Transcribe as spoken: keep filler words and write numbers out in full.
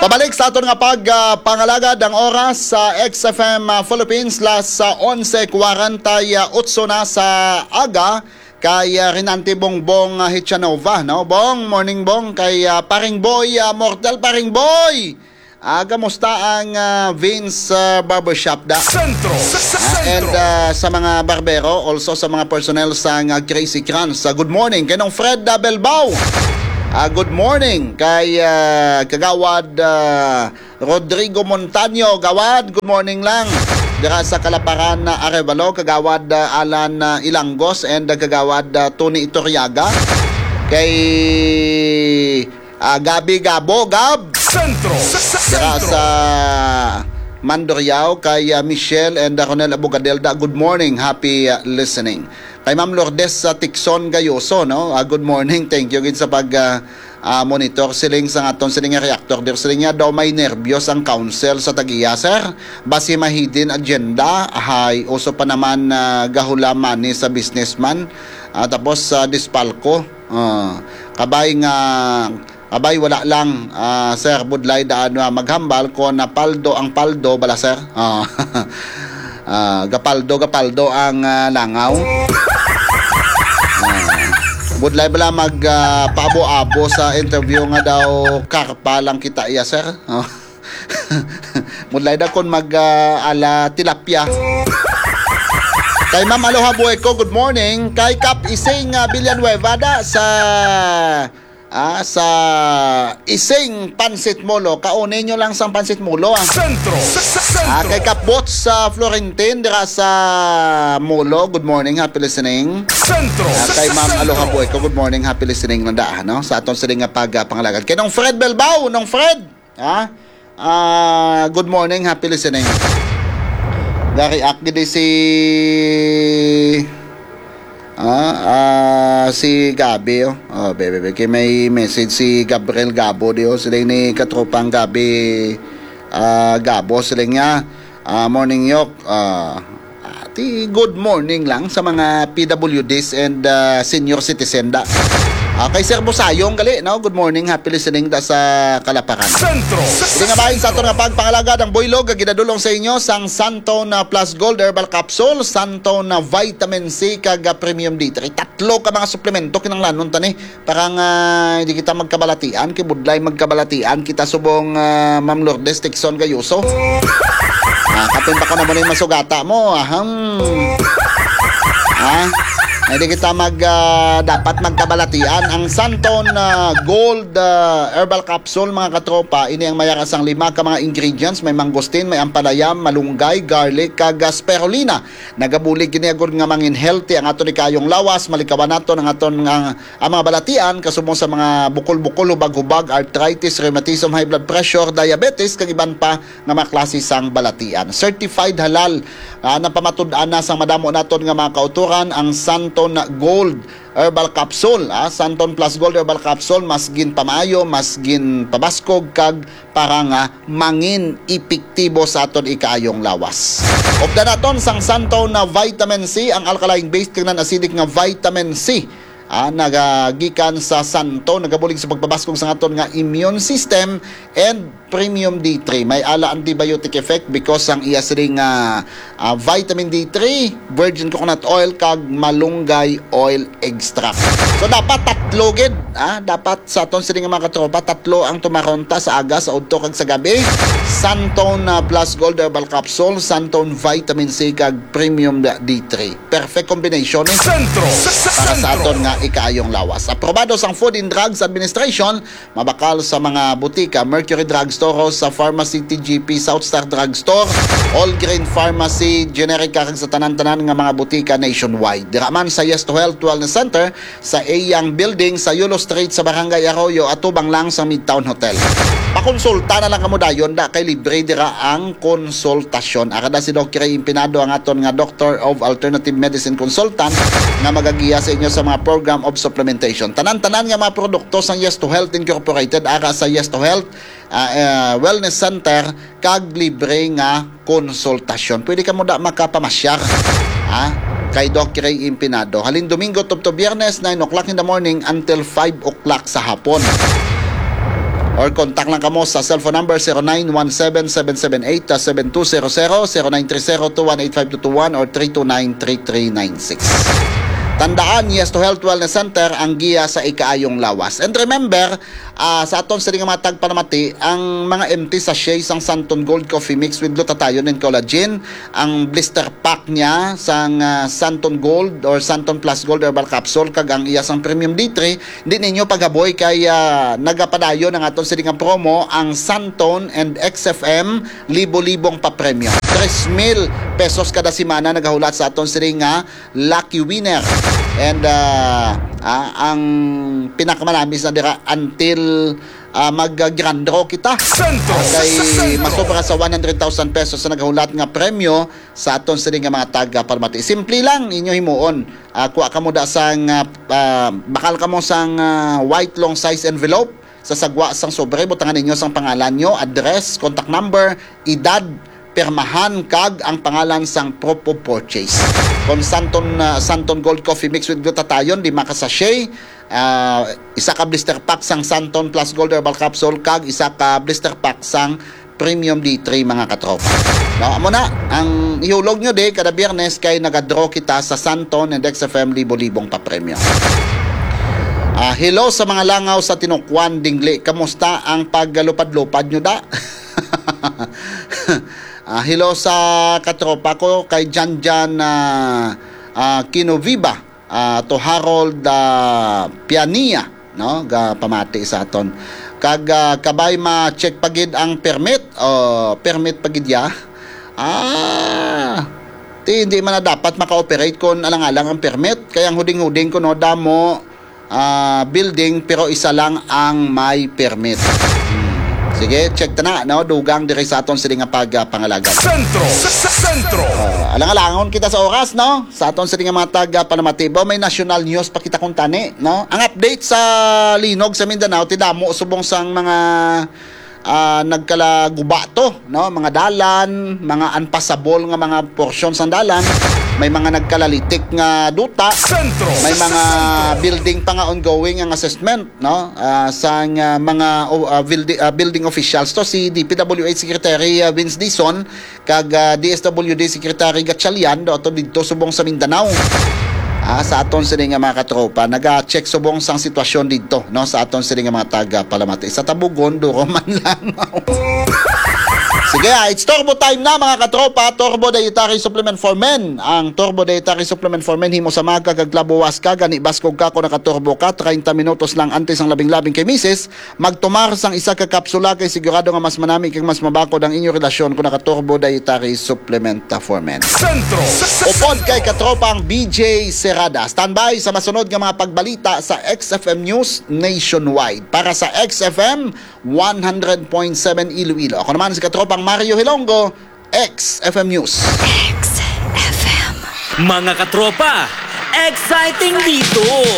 Pabalik sa aton nga pag, ah, pangalagad ang oras sa X F M, ah, Philippines, las, ah, onse kwarenta y otso na sa aga. Kay, ah, Rinante Bongbong, ah, Hichanova, no? Bong, morning, Bong. Kay, ah, Paring Boy, ah, Mortal Paring Boy. Ah, kamusta ang, ah, Vince, ah, Barbershop da? Sentro. Sa, sa Ah, and, Sentro. ah, sa mga barbero, also sa mga personnel sa nga Crazy Crunch. Ah, good morning. Kay Nong Fred, ah, Belbao. Ah, good morning. Kay, ah, Kagawad, ah, Rodrigo Montaño. Gawad, good morning lang. Dira sa Kalaparan na Arevalo, Kagawad, ah, Alan, ah, Ilangos, and, ah, Kagawad, ah, Tony Iturriaga. Kay, ah, Gabi Gabo, Gab. Sentro. Sa, sa, Dira Sentro. sa Mandurriao, kay, ah, Michelle and, ah, Ronel Abogadelda. Good morning. Happy, ah, listening. Kay Ma'am Lourdes sa Tixon Gayoso, no? Ah, good morning. Thank you gid sa pag, ah, ah, monitor. Siling sa aton siling nga reactor. Dir siling niya daw may nervyos ang council sa tag-iya, sir. Basi may hidden agenda. Hay, uso pa naman, ah, gahula money sa businessman. Ah, tapos sa Dispalco. Ah, kabay nga, kabay wala lang, ah, sir, budlay daan nga maghambal kon napaldo ang paldo bala, sir. Ah, ah, gapaldo, gapaldo ang, ah, langaw. Ah, budlay bala mag, ah, paabo-abo sa interview nga daw karpa lang kita iya, sir. Ah. Budlay daw kon mag, ah, ala tilapia. Kay Ma'am Aloha Bueco, good morning. Kay Kap Ising, ah, Villanueva da sa, ah, sa Ising Pansit Molo. Kaunay nyo lang sang Pansit Molo, ah. Sentro. Sa, sa, Ah, Sentro. kay Kap Bots sa Florentin, dira sa Molo. Good morning, happy listening. Sentro. Ah, Sa, kay sa, Ma'am Aloha Sentro. Bueco, good morning, happy listening na da, no? Sa aton sila nga pag, ah, pangalagad. Kay Nong Fred Belbao, Nong Fred. Ha? Ah, good morning, happy listening. Ga-react gid si, ah, ah, si Gabi, oh. Oh, bebe, bebe, kay may message si Gabriel Gabo di, oh. Sila ni katropang Gabi, ah, Gabo, sila niya. Ah, morning, Yok. Ah, ah, ti good morning lang sa mga P W Ds and, ah, senior citizen da. Ah, kay Sir Busayong gali, no? Good morning, happy listening da sa Kalaparan. Sentro. Sa, Hindi nga sa bahin sa aton Sentro. nga pagpangalagad ang buylog nga ginadulong sa inyo sang Santone Plus Gold Herbal Capsule, Santone Vitamin C, kag, ah, Premium D three. Tatlo ka mga suplemento kinahanglanon ta ni. Para nga hindi kita magkabalatian, kay budlay magkabalatian kita subong, ah, Ma'am Lourdes Tixon Gayoso. Ah, kapin pa ko na mo na yung masugata mo, aham. Ah, hindi kita mag, ah, dapat magkabalatian. Ang Santon, ah, Gold, ah, Herbal Capsule, mga katropa, ini ang mayara sang lima ka mga ingredients. May mangosteen, may ampalaya, malunggay, garlic, kag, ah, spirulina. Nagabulig kini agud nga mangin healthy ang aton ikayong lawas, malikawan naton ang aton nga ang mga balatian, kasubong sa mga bukol-bukol, hubag-hubag, arthritis, rheumatism, high blood pressure, diabetes, kag iban pa nga mga klase sang balatian. Certified halal, ah, napamatud-an na sang madamo naton nga mga kautoran ang Santon Gold Herbal Capsule, ah, Santon Plus Gold Herbal Capsule, mas ginpamaayo, mas ginpabaskog, kag para nga mangin epektibo sa aton ikaayong lawas. Updan naton sang Santon na vitamin C, ang alkaline base kag non-acidic nga vitamin C. Ah, nagagikan sa Santon, nagabulig sa pagpabaskog sa aton nga immune system and premium D three. May ala antibiotic effect because ang iya siling nga, ah, vitamin D three, virgin coconut oil, kag malunggay oil extract. So, dapat tatlo gid, ah, dapat sa aton siling nga mga katropa, tatlo ang tumaron ta sa aga, sa udto, kag sa gabi. Santon, ah, Plus Gold Herbal Capsule, Santon Vitamin C, kag Premium D three. Perfect combination, eh. Sentro. Sa, sa, Para sa sentro. aton nga ikaayong lawas. Aprobado sang Food and Drugs Administration, mabakal sa mga butika, Mercury Drugstore, sa Pharmacy T G P, South Star Drugstore, All Green Pharmacy, Generica, kag sa tanan-tanan nga mga butika nationwide. Dira man sa Yes to Health Wellness Center, sa Eyang Building sa Yulo Street sa Barangay Arroyo, atubang lang sa Midtown Hotel. Pakonsulta na lang kamo dayon da kay libre dira ang konsultasyon. Ara da si Doc Ray Impinado, ang aton nga Doctor of Alternative Medicine Consultant nga magagiya sa inyo sa mga program of supplementation. Tanan-tanan nga mga produkto sang Yes to Health Incorporated ara sa Yes to Health, ah, eh, Wellness Center kag libre nga konsultasyon. Pwede kamo da makapamasyar, ha, kay Doc Ray Impinado. Halin Domingo tubtob Biyernes, nine o'clock in the morning until five o'clock sa hapon. Or contact lang kamo sa cellphone number zero nine one seven, seven seven eight, seven two zero zero, zero nine three zero, two one eight five two two one, or three two nine, three three nine six. Tandaan, Yes to Health Wellness Center ang giya sa ikaayong lawas. And remember, ah, sa aton sini nga mga tagpanamati, ang mga empty sachet sang Santon Gold Coffee Mix with glutathione and collagen, ang blister pack niya sang, ah, Santon Gold or Santon Plus Gold Herbal Capsule, kag ang iya sang Premium D three, di ninyo paghaboy kay, ah, nagapadayon ang aton sini nga promo, ang Santon and X F M, libo-libong papremyo. Tres mil pesos kada semana nagahulat sa aton sini nga lucky winner. And, ah, ah, ang pinakamalamis na dira, until, ah, mag, ah, grand draw kita. Sentro. Ah, kay Sentro. Masobra sa one hundred thousand pesos sa nagahulat nga premyo sa aton sini nga mga taga-palamati. Simple lang inyo himuon. Ah, kuha kamo da sang, ah, ah, bakal kamo sang, ah, white long size envelope. Sa sagwa sang sobre, butangan ninyo sang pangalan nyo, address, contact number, edad, pirmahan, kag ang pangalan sang proof of purchase. Kon Santon, ah, Santon Gold Coffee Mix with glutathione, lima ka sachet, ah, isa ka blister pack sang Santon Plus Gold Herbal Capsule, kag isa ka blister pack sang Premium D three, mga katropa. No, amo na, ang ihulog nyo di, kada Biyernes kay nagadraw kita sa Santon and X F M libo-libong papremyo. Ah, hello sa mga langaw sa Tinukwan, Dingli. Kamusta ang paglupad-lupad nyo da? Ah, hello sa katropa ko kay Janjan, ah, ah, Kinoviva, ah, to Harold, ah, Piania, no? Ga pamati sa aton. Kag, ah, kabay ma-check pa gid ang permit. O, permit pa gid ya. Ah, ti, hindi man na dapat maka-operate kung alang-alang ang permit. Kaya ang huding-huding ko, no, damo, ah, building, pero isa lang ang may permit. Hmm. Sige, check ta na, no? Dugang diri sa aton sini nga pag, ah, pangalagad. Sentro! Sa, sa, sentro! Ah, alang-alangon kita sa oras, no? Sa aton sini nga mga taga Panamatibo, may national news pa kita kung tani, no? Ang update sa linog sa Mindanao, tidamo subong sang mga, ah, nagkalaguba to, no? Mga dalan, mga unpassable nga mga porsyon sang dalan, may mga nagkalalitik nga duta, Sentro! May mga Sentro! Building pa nga ongoing ang assessment, no? Ah, sang, ah, mga, oh, ah, buildi-, ah, building officials to, si D P W H Secretary, ah, Vince Dizon, kag, ah, D S W D Secretary Gatchalian, do ato didto subong sa Mindanao. Ah, sa aton sini nga mga katropa, naga-check subong sang sitwasyon didto, no, sa aton sini nga mga taga Palamati. Sa Tabugon, duro man lang. Sige, ah, it's Turbo time na, mga katropa. Turbo Dietary Supplement for Men. Ang Turbo Dietary Supplement for Men, himo sa maga kag labuwas ka, gani baskog ka kung nakaturbo ka, treinta minutos lang antes ang labing-labing kay misis, magtumar sang isa ka kapsula kay sigurado nga mas manami kag mas mabakod ang inyo relasyon kung naka-Turbo Dietary Supplement for Men. Sentro! Upod kay katropang B J Serrada. Standby sa masunod nga mga pagbalita sa X F M News Nationwide. Para sa X F M one hundred point seven Iloilo, ako naman si katropang Mario Hilongo, X F M News. X F M. Mga katropa, exciting dito!